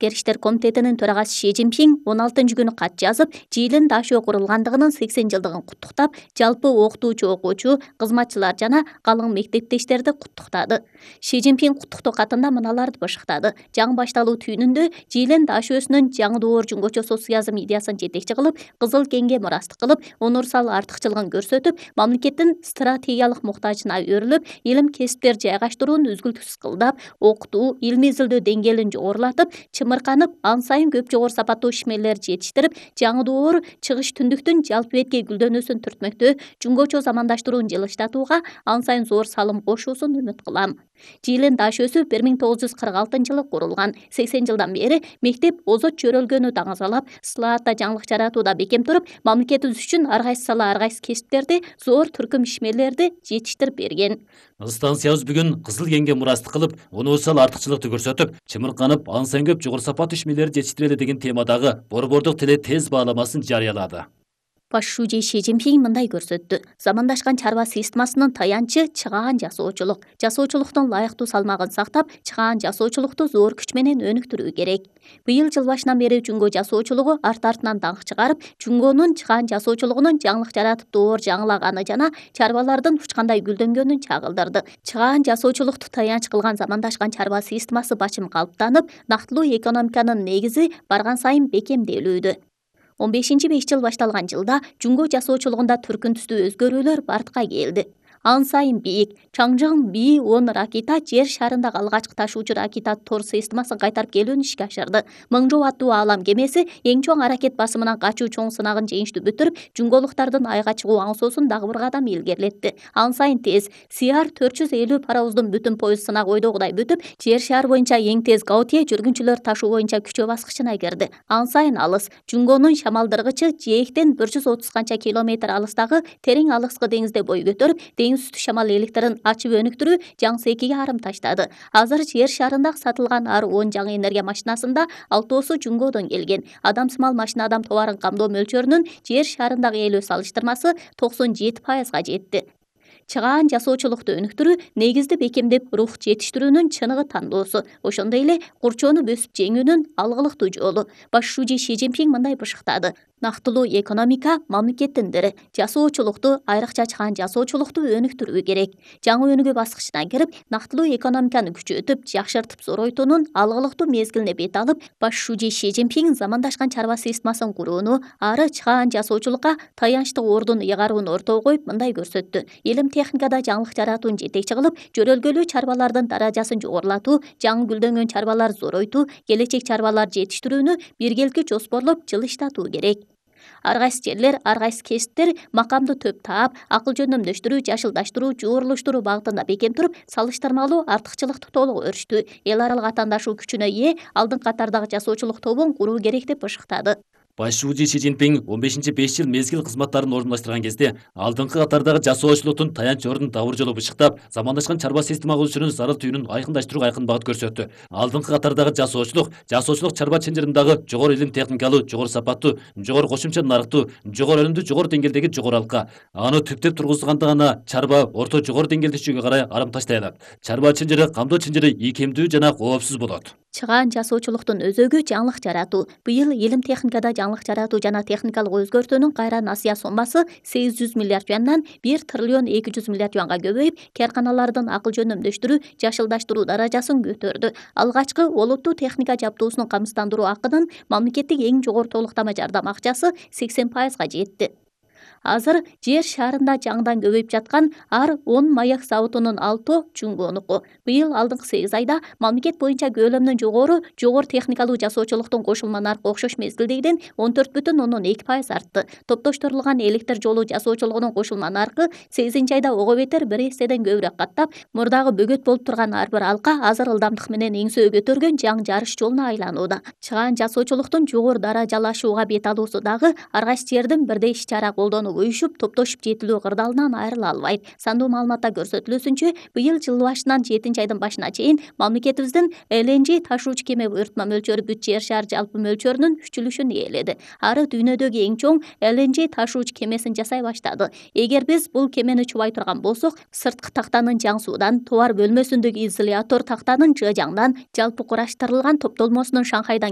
Сырткы иштер комитетинин төрагасы Ши Цзиньпин 16-күнү кат жазып, Жиилин Дашөө курулгандыгынын 80 жылдыгын куттуктап, жалпы окутуучу, окуучу, кызматчылар жана калың мектептештерди куттуктады. Ши Цзиньпин куттуктоо катында мыналарды башыктады. Жаңы башталуу түйүнүндө Жиилин Дашөөсүнүн жаңы доор жумгочо социализм идеясын жетекчи кылып, Кызыл кеңге мурастык кылып, универсал артыкчылыгын көрсөтүп, мамлекеттин стратегиялык муктажына өрүлүп, илим кесиптер жайгаштырууну үзгүлтүксүз кылдап, окутуу, илимий изилдөө деңгээлин жогорулатып, чымырканып, ан сайын көп жогору сапаттуу ишмерлерди жетиштирип, жаңы доор чыгыш түндүктүн жалпы бетке гүлдөнүүсүн түртмөктө, жумгочо замандаштырууну жылыштатууга ан сайын зор салым кошуусун үмүт кылам. Жиилин Дашөөсү 1946-жылы курулган. 80 жылдан бери мектеп озот чөрөлгөнү даңазалап, ысылаатта жаңылык жаратууда бекем туруп, мамлекетибиз үчүн ар кайсы сала, ар кайсы кесиптерди, зор түркүм ишмерлерди жетиштирип берген. Станциябыз бүгүн Кызыл кеңге мурастык кылып, универсал артыкчылыкты көрсөтүп, чымырканып, ан сайын көп жогору сапаттуу ишмерлерди жетиштирели деген темадагы борбордук теле тез бааламасын жарыялады. Баш шүүжө Ши Цзиньпин мындай көрсөттү. Замандашкан чарба системасынын таянчы чыгаан жасоочулук. Жасоочулуктун лайыктуу салмагын сактап, чыгаан жасоочулукту зор күч менен өнүктүрүү керек. Быйыл жыл башынан бери жүнгө жасоочулугу арт-артынан даңк чыгарып, жүнгөнүн чыгаан жасоочулугунун жаңылык жаратып доор жаңылаганы жана чарбалардын учкандай гүлдөнгөнүн чагылдырды. Чыгаан жасоочулукту таянч кылган замандашкан чарба системасы бачым калыптанып, нактылуу экономиканын негизи барган сайын бекемделүүдө. 15-5 жыл башталган жылда жүнгө жасоочулугунда түркүн түстүү өзгөрүүлөр бартка келди. Ан сайын бийик Чаңжың Би-10 ракета жер шарындагы алгачкы ташуучу ракета тор системасын кайтарып келүүнү ишке ашырды. 1000 жоо аттуу Аалам кемеси эң чоң аракет басымынан качуу чоң сынагын жеңиштүү бүтүрүп, жүнгөлуктардын айга чыгуу аңсоосун дагы бир кадам илгерилетти. Ан сайын тез Сиар 450 паровоздун бүтүн поезд сынагы ойдогудай бүтүп, жер шаар боюнча эң тез Гаутье жүргүнчүлөр ташуу боюнча күчөө баскычына кирди. Ан сайын алыс жүнгөнүн шамалдыргычы Жээктен 130 канча километр алыстагы терең алыскы деңизде бой көтөрүп, деңиз үстү шамал электерин ачып өнүктүрүү Жаңсекиге арым таштады. Азыр жер шарында сатылган ар 10 жаңы энергия машинасында 6оосу жүнгөдөн келген. Адамсымал машина адам товарын камдоо мөлчөрүнүн жер шарындагы ээлөө салыштырмасы 97%га жетти. Чыгаан жасоочулукту өнүктүрүү негизди бекемдеп, рух жетиштирүүнүн чыныгы тандоосу, ошондой эле курчоону бөсүп жеңүүнүн алгылыктуу жолу. Баш шүүжө Ши Цзиньпин мындай бышыктады. Нактылуу экономика мамлекеттин бири. Жасоочулукту, айрыкча чыгаан жасоочулукту өнүктүрүү керек. Жаңы өнүгүү баскычына кирип, нактылуу экономиканы күчөтүп, жакшыртып зоройтуунун алгылыктуу мезгилине бет алып, баш шүүжө Ши Цзиньпин замандашкан чарба системасын курууну, ары чыгаан жасоочулукка таянчтык ордун ыйгарууну ортого коюп мындай көрсөттү. Илим техникада жаңылык жаратууну жетекчи кылып, жөрөлгөлүү чарбалардын даражасын жогорулатуу, жаңы гүлдөнгөн чарбалар зоройтуу, келечек чарбалар жетиштирүүнү биргеликте жоспорлоп жылыштатуу керек. Ар кайсы жерлер, ар кайсы кесиптер макамды төп таап, акыл жөндөмдөштүрүү, жашылдаштыруу, жуурлуштуруу багытында бекем туруп, салыштырмалуу артыкчылыкты толук өрүштү. Эл аралык атаандашуу күчүнө ээ алдыңкы катардагы жасоочулук тобун куруу керек деп бышыктады. Баш шүүжө Ши Цзиньпин 15-5 жыл мезгил кызматтарын орундаштырган кезде алдыңкы катардагы жасоочулуктун таянч ордун дабыр жолу бышыктап, замандашкан чарба система курушунун зарыл түйүнүн айкындаштырууга айкын багыт көрсөттү. Алдыңкы катардагы жасоочулук чарба ченжириндағы жогору илим техникалуу, жогору сапаттуу, жогору кошумча нарыктуу, жогору өнүмдүү, жогору деңгээлдеги жогору алка. Аны түптеп тургузганда гана чарба орто жогору деңгээлдешүүгө карай арым таштай алат. Чарба ченжири, камдоо ченжири ийкемдүү жана коопсуз болот. Чыгаан жасоочулуктун өзөгү жаңылык жаратуу. Быйыл илим техникада жаңылык жаратуу жана техникалык өзгөртүүнүн кайра насыя соммасы 800 миллиард юандан 1 триллион 200 миллиард юанга көбөйүп, каарканалардын акыл жөндөмдөштүрүү, жашылдаштыруу даражасын көтөрдү. Алгачкы олуттуу техника жабдуусун камсыздандыруу акынын мамлекеттик эң жогору толуктама жардам акчасы 80%га жетти. Азыр жер шарында жаңыдан көбөйүп жаткан ар 10 маяк заводунун 6 жүнгөнүкү. Быйыл алдыңкы 8 айда мамлекет боюнча көлөмүнөн жогору техникалуу жасоочулуктун кошулма наркы окшош мезгилдегиден 14,2% артты. Топтоштурулган электр жолу жасоочулугунун кошулма наркы 8 айда ого бетер 1 эседен көбүрөөк каттап, мурдагы бөгөт болуп турган ар бир алка азыр ылдамдык менен эңсөө көтөргөн жаңы жарыш жолуна айланууда. Чыгаан жасоочулуктун жогору даражалашууга бет алуусу дагы ар кайсы жердин бирдей иш-чара колдонуп уюшуп, топтошуп жетилүү кырдаалынан айрыла албайт. Сандуу маалыматта көрсөтүлүүсүнчө, быйыл жыл башынан 7-айдын башына чейин мамлекетибиздин LNG ташуучу кеме буйртма мөлчөрү бүт жер шаар жалпы мөлчөрүнүн үчүлүшүн ээледи. Ары дүйнөдөгү эң чоң LNG ташуучу кемесин жасай баштады. Эгер биз бул кемени чубай турган болсок, сырткы тактанын жаң суудан, товар бөлмөсүндөгү изолятор тактанын жыжаңдан, жалпы кураштырылган топтолмосунун Шанхайдан